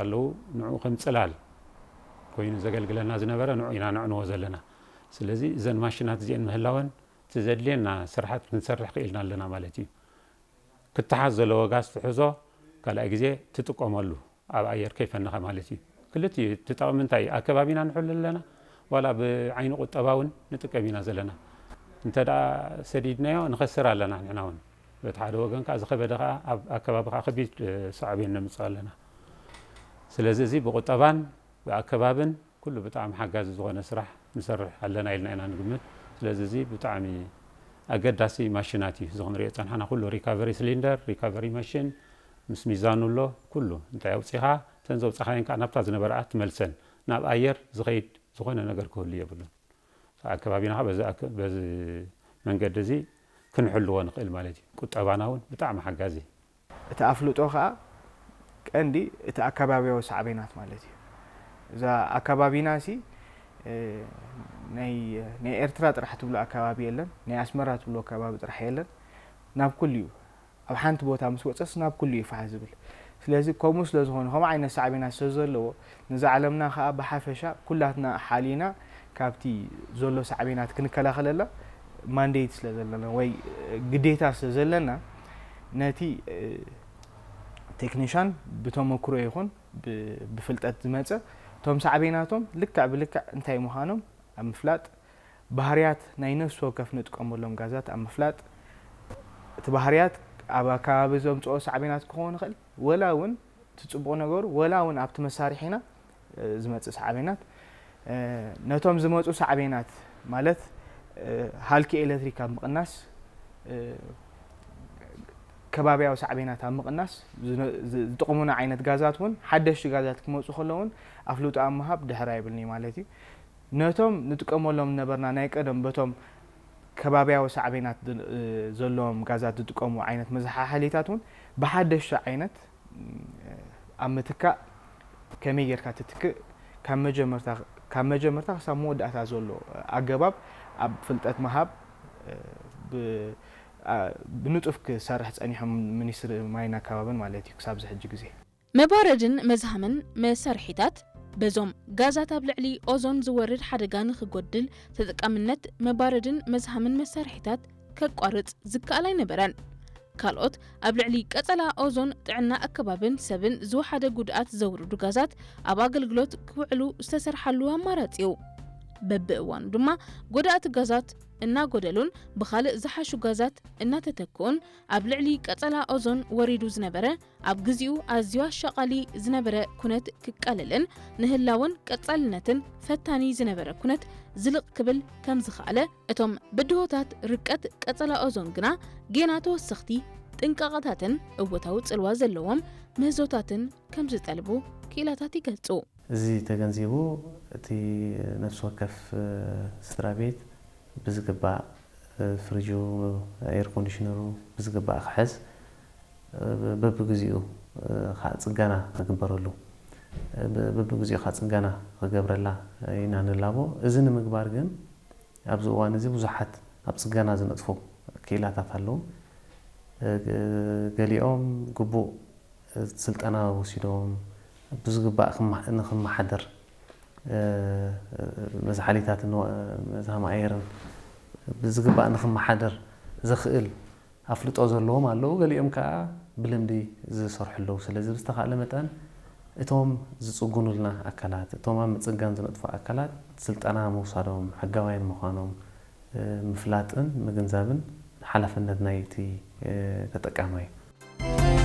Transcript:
ኣለዉ። ንዑ ከም ጽላል ኮይኑ ዘገልግለና ዝነበረ ንዑ ኢና ነዕንዎ ዘለና። ስለዚ እዘን ማሽናት እዚአን ምህላወን እቲ ዘድልየና ስራሓት ክንሰርሕ ክኢልና ኣለና ማለት እዩ። ክተሓዝ ዘለዎ ጋዝ ትሕዞ፣ ካልኣይ ግዜ ትጥቀመሉ ኣብ ኣየር ከይፈነኻ ማለት እዩ። ክልቲኡ እቲ ጠቕሚ እንታይ እዩ? ኣከባቢና ንሕሉ ኣለና፣ ዋላ ብዓይኒ ቁጠባ እውን ንጥቀም ኢና ዘለና። እንተ ደኣ ሰዲድናዮ ንኸስር ኣለና ንሕና እውን። በቲ ሓደ ወገን ከኣ ዝኸበደ ከኣ ኣብ ኣከባቢ ከኣ ከቢድ ሳዕቤን ነምጽእ ኣለና። ስለዚ እዚ ብቁጠባን ብኣከባብን ኩሉ ብጣዕሚ ሓጋዚ ዝኾነ ስራሕ ንሰርሕ ኣለና ኢልና ኢና ንግምት። ስለዚ እዚ ብጣዕሚ ኣገዳሲ ማሽናት እዩ። እዚ ክንሪኦ ጸንሓና ኩሉ ሪካቨሪ ሲሊንደር፣ ሪካቨሪ ማሽን ምስ ሚዛኑ ኣሎ ኩሉ እንታይ ኣውጺኻ እተን ዘውጻኻየን ከዓ ናብታ ዝነበረኣ ትመልሰን ናብ ኣየር ዝኸይድ ዝኾነ ነገር ክህሉ የብሉን። ኣከባቢና ከዓ በዚ ኣከ- በዚ መንገዲ እዚ ክንሕልዎ ንኽእል ማለት እዩ። ቁጠባና እውን ብጣዕሚ ሓጋዚ። እቲ ኣፍልጦ ከዓ ቀንዲ እቲ ኣከባቢያዊ ሳዕቤናት ማለት እዩ። እዛ ኣከባቢና ሲ ናይ ናይ ኤርትራ ጥራሕ ትብሎ ኣከባቢ የለን፣ ናይ ኣስመራ ትብሎ ኣከባቢ ጥራሕ የለን። ናብ ኩሉ እዩ፣ ኣብ ሓንቲ ቦታ ምስ ወፀስ ናብ ኩሉ እዩ ፋሕ ዝብል። ስለዚ ከምኡ ስለ ዝኾነ ከምኡ ዓይነት ሳዕቤናት ስለ ዘለዎ ነዚ ዓለምና ከዓ ብሓፈሻ ኩላትና ሓሊና ካብቲ ዘሎ ሳዕቤናት ክንከላኸለላ ማንዴት ስለ ዘለና ወይ ግዴታ ስለ ዘለና ነቲ ቴክኒሻን ብተመክሮ ይኹን ብፍልጠት ዝመፀ እቶም ሳዕቤናቶም ልክዕ ብልክዕ እንታይ ምዃኖም ኣብ ምፍላጥ፣ ባህርያት ናይ ነፍሲ ወከፍ ንጥቀመሎም ጋዛት ኣብ ምፍላጥ፣ እቲ ባህርያት ኣብ ኣከባቢ ዘምፅኦ ሳዕቤናት ክኸውን ይኽእል፣ ወላ እውን እቲ ፅቡቕ ነገሩ ወላ እውን ኣብቲ መሳርሒና ዝመፅእ ሳዕቤናት ነቶም ዝመፁ ሳዕቤናት ማለት ሃልኪ ኤሌክትሪክ ኣብ ምቕናስ ከባቢያዊ ሳዕቤናት ኣብ ምቕናስ ዝጠቕሙና ዓይነት ጋዛት እውን ሓደሽቲ ጋዛት ክመፁ ከለውን ኣፍልጦ ኣብ ምሃብ ድሕር ኣይብልኒ ማለት እዩ። ነቶም ንጥቀመሎም ነበርና ናይ ቀደም በቶም ከባቢያዊ ሳዕቤናት ዘለዎም ጋዛት ዝጥቀሙ ዓይነት መዘሓሓሊታት እውን ብሓደሽቲ ዓይነት ኣብ ምትካእ ከመይ ጌርካ ትትክእ ካብ መጀመርታ ካብ መጀመርታ ክሳብ መወዳእታ ዘሎ ኣገባብ ኣብ ፍልጠት ምሃብ ብንጡፍ ክሰርሕ ጸኒሖም ሚኒስትሪ ማይን ኣከባብን ማለት እዩ ክሳብ ዝሕጂ ግዜ። መባረድን መዝሃምን መሳርሒታት በዞም ጋዛት ኣብ ልዕሊ ኦዞን ዝወርድ ሓደጋ ንኽጎድል ተጠቃምነት መባረድን መዝሃምን መሳርሒታት ከቋርጽ ዝከኣል ኣይነበረን። ካልኦት ኣብ ልዕሊ ቀጸላ ኦዞን ጥዕና ኣከባብን ሰብን ዝወሓደ ጉድኣት ዘውርዱ ጋዛት ኣብ ኣገልግሎት ክውዕሉ ዝተሰርሓሉ ኣማራጺ እዩ። በብእዋኑ ድማ ጎዳእቲ ጋዛት እናጎደሉን ብኻልእ ዝሓሹ ጋዛት እናተተክኡን ኣብ ልዕሊ ቀጸላ ኦዞን ወሪዱ ዝነበረ ኣብ ግዚኡ ኣዝዩ ኣሻቓሊ ዝነበረ ኩነት ክቃለልን ንህላወን ቀጻልነትን ፈታኒ ዝነበረ ኩነት ዝልቕ ክብል ከም ዝኸኣለ እቶም ብድሆታት ርቀት ቀጸላ ኦዞን ግና ጌና ተወሰኽቲ ጥንቃቐታትን እወታዊ ጽልዋ ዘለዎም ምህዞታትን ከም ዝጠልቡ ክኢላታት ይገልጹ። እዚ ተገንዚቡ እቲ ነፍሲ ወከፍ ስድራ ቤት ብዝግባእ ፍሪጁ፣ ኤር ኮንዲሽነሩ ብዝግባእ ክሕዝ በብግዚኡ ከዓ ፅገና ክግበረሉ በብግዚኡ ከዓ ፅገና ክገብረላ ኢና ንላቦ። እዚ ንምግባር ግን ኣብዚ እዋን እዚ ብዙሓት ኣብ ፅገና ዝነጥፉ ክኢላታት ኣለዉ። ገሊኦም ግቡእ ስልጠና ወሲዶም ብዝግባእ ንክመሓደር መዝሓሊታት መዝሃም ኣየርን ብዝግባእ ንክመሓደር ዘኽእል ኣፍልጦ ዘለዎም ኣለዉ። ገሊኦም ከዓ ብልምዲ ዝሰርሑ ኣለዉ። ስለዚ ብዝተኻእለ መጠን እቶም ዝፅጉኑልና ኣካላት፣ እቶም ኣብ ምፅጋን ዝነጥፉ ኣካላት ስልጠና ምውሳዶም፣ ሕጋውያን ምዃኖም ምፍላጥን ምግንዛብን ሓላፍነት ናይቲ ተጠቃማይ እዩ።